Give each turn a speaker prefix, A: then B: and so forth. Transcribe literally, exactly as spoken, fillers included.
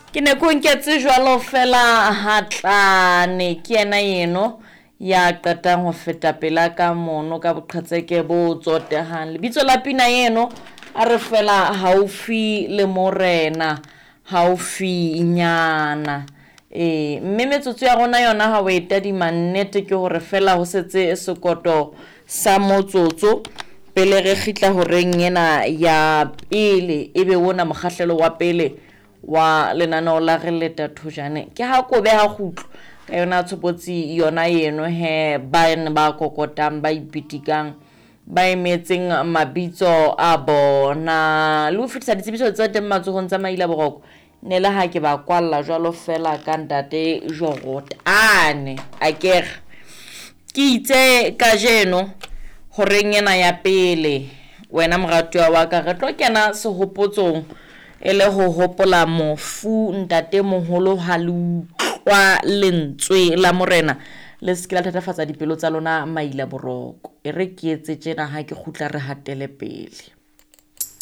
A: Ke ne ko nketse jwalo fela hatlane ke yena eno ya qetang ho feta pela ka mono ka boqhetseke bo tsotehang. Lebitso la pina eno a re fela haufi le morena, haufinyana. E mme metsotso ya rona yona ha o e tadima nnete ke hore fela ho setse sekoto sa motsotso pele re kgitla horeng ena ya pele, ebe ona mokgahlelo wa pele wa lenaneo la re leta thojane. Ke ha kobe ha kgutlo ka yona tshobotsi yona eno he ba ne ba kokotang ba ipitikang ba emetseng mabitso a bona le ho fetisa ditsebiso tse teng matsohong tsa maila boroko. Ne le ha ke ba kwalla jwalo fela ka ntate Jorotane akere ke itse kajeno horeng ena ya pele wena moratuwa wa ka re tlo kena sehopotsong e le ho hopola mofu ntatemoholo ha le utlwa lentswe la morena le se ke la thatafatsa dipelo tsa lona maila boroko. E re ke etse tjena ha ke kgutla re hatele pele.